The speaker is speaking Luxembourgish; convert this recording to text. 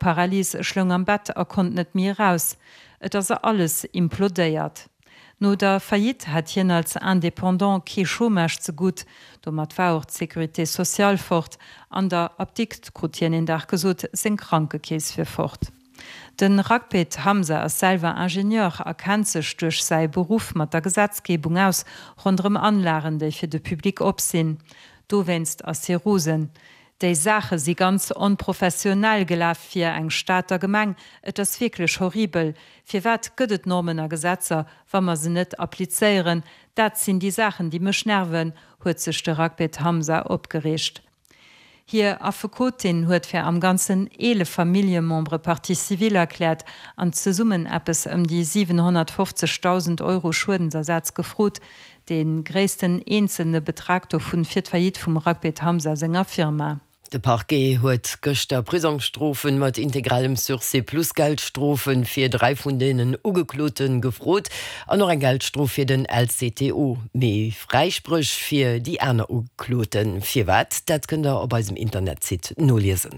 Paralyse, ech loung am Bett a konnt net méi eraus. Et ass alles implodéiert. No der Faillite hat hien als Indépendant kee Chômage ze gutt. Domat war och d'Sécurité sociale fort. An der Apdikt krut hien een Dag gesot, seng Krankekeess wier fort. De Ragbet Hamza ass selwer Ingenieur a kennt sech duerch säi Beruff mat der Gesetzgebung aus ronderëm Anlagen, déi fir de Public op sinn. Dowéinst ass hie rosen. Déi Saache si ganz onprofessionell gelaf fir eng Stater Gemeng. Et ass wierklech horribel. Firwat gëtt et Normen a Gesetzer, wa mer se net applizéieren? Dat sinn déi Saachen, déi mech nerven, huet sech de Ragbet Hamza opgereegt. Hir Affekotin huet fir am Ganzen 11 Familljemembere Partie civile erkläert an zesummen eppes ëm déi 750.000 Euro Schuedensersaz gefrot, Dee gréissten eenzelne Betrag dovun fir d'Faillite vum Ragbet Hamza senger Firma. De Parquet huet gëschter Prisongsstrofen mat integralem Sursis plus Geldstrofe fir 3 vun deenen Ugeklote gefrot an och eng Geldstrof fir den LCTO, mee Fräispréch fir déi aner Ugekloten. Firwat? Dat kënnt der op eisem Internetsite noliesen.